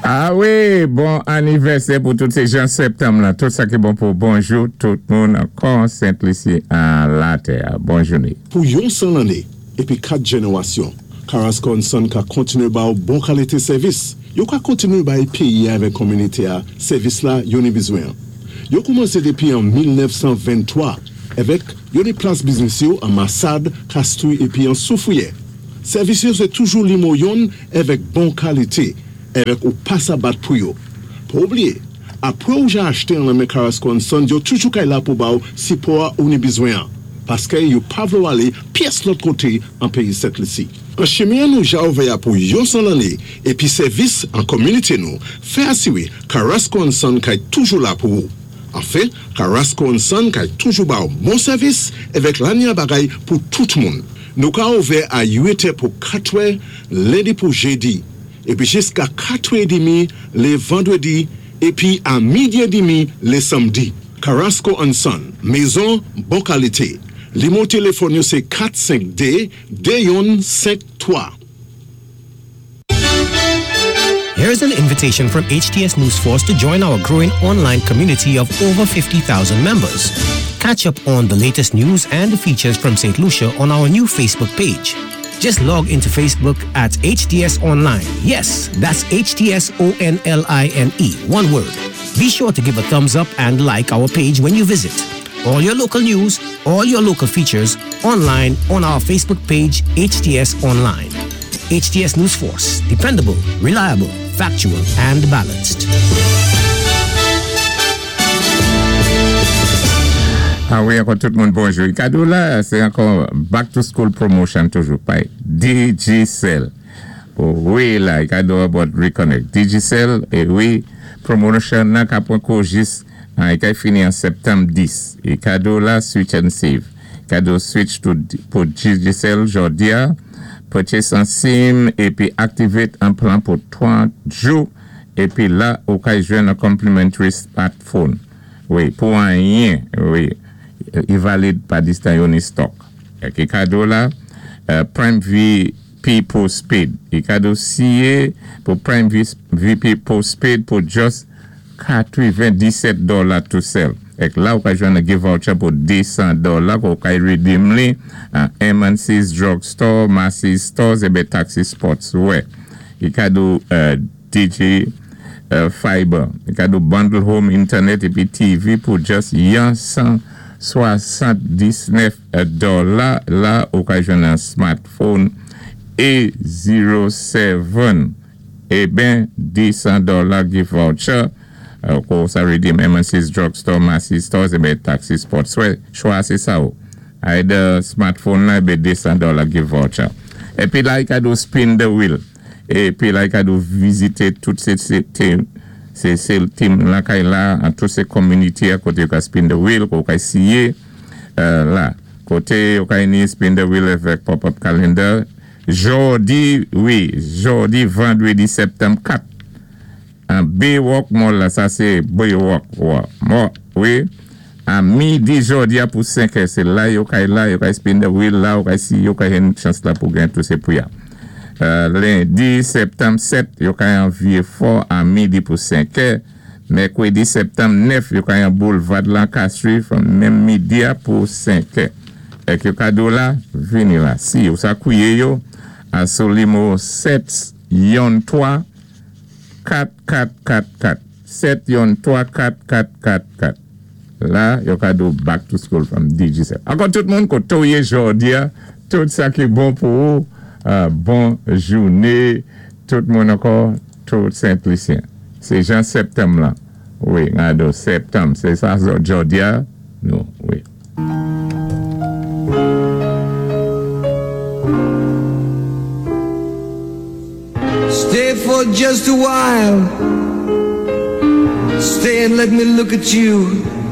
A wi, bon anivèsè pou tout sé jan septanm la. Tout sa ki bon pou bonjou tout moun ankò Sent Lisi a latè. Bon jouné. Pou yon 100 lanné épi 4 jénéwasyon, Carrasco and Son ka kontinué ba ou bon kalité sèvis. Yo ka kontinué bay péyi-a avèk kominité-a sèvis la yo ni bizwen. Yo koumansé dépi an 1923 avèk yo ni plas biznis yo an Masad, Kastri épi an Soufriyè. Sèvis yo sé toujou nimo yonn avèk bon kalité avèk ou pa sa bat pou yo. Pa oubliyé, apwé ou ja achté an lan men Carrasco and Son, yo toujou kay la pou ba ou sipò ou ni bizwen an, paské yo pa vlé ou alé pyès lòt koté an péyi Sent Lisi. An chimen nou ja ouvè a pou yon 100 lanné épi sèvis an kominité nou, fè asiwé Carrasco and Son kay toujou la pou ou. Anfen, Carrasco and Son kay toujou ba ou bon sèvis avèk lanya bagay pou tout moun. Nou ka ouvè a 8 è pou 4 è lendi pou jédi, épi jiska 4 è dimi lé vandwédi, épi a midi é dimi lé sanmdi. Carrasco and Son, mézon bon kalité. Nimo téléfòn yo sé 452 2153. Here's an invitation from HTS News Force to join our growing online community of over 50,000 members. Catch up on the latest news and features from St. Lucia on our new Facebook page. Just log into Facebook at HTS Online. Yes, that's HTS O N L I N E, one word. Be sure to give a thumbs up and like our page when you visit. All your local news, all your local features online on our Facebook page, HTS Online. HTS News Force, dependable, reliable, factual, and balanced. A wi, ankò tout moun bonjou. Kado la, sé ankò back to school promotion toujou pay Digicel. Wi la, kado about Reconnect. Digicel, é wi, promotion nan ka pwan kou jis, i kay fini an septanm 10. É kado la, switch and save. Kado switch to pou Digicel jòdi-a, purchase an SIM épi activate an plan pou 30 jou épi la ou kay jwenn an complimentary smartphone. Wi, pou anyen, wi, i valid pa distan yo ni stock. Ki kado la, Prime VP Postpaid. I kado siye pou Prime VP Postpaid pou just 97 dola tou sèl. Ek la ou ka jwenn an gift voucher pou 200 dola ou kay redeem li an M&C's Drugstore, Macy's Stores ébé Taxi Sports. Wè. I kado Digi Fiber. I kado bundle home internet épi TV pou just yon 179 dola. La ou ka jwenn an smartphone A07. Eben 200 dola gift voucher kou sa redeem M&C's Drugstore, Macy's Stores ébé Taxi Sports. Wè, chwa sé sa ou. Either smartphone la ébé 200 dola gift voucher. Épi la i kado spin the wheel. Épi la i kado vizité tout sé team sé team lakay la an tout sé community a koté yo ka spin the wheel, kou kay siyé la. Koté yo kay ni spin the wheel avèk pop-up calendar. Jòdi, wi, jòdi vandwédi septanm 4 an Baywalk Mall la, sa sé Baywalk Mall, wi, a midi jòdi a pou 5 è, sé la yo kay la, yo kay spin the wheel la, yo kay si yo kay gen chans la pou gen tout sé pri a. Lendi septanm 7, yo kay an Vieux Fort a midi pou 5 è, mèkwédi septanm 9, yo kay an Boulevard Lancastrie menm midi a pou 5 è. Ek yo kado la, vini la. Si ou sa kouye yo, a sou nimo 7 yon 3 4 4 4 4. 7 yon 3 4 4 4 4. La, yo kado back to school from Digicel. Ankò tout moun koté ou yé jòdi a, tout sa ki bon pou ou, bon jouné, tout moun ankò, tout Sent-Lisyen. Sé jan septanm lan. Wi, kado septanm, sé sa jòdi a, nou, wi. Stay for just a while. Stay and let me look at you.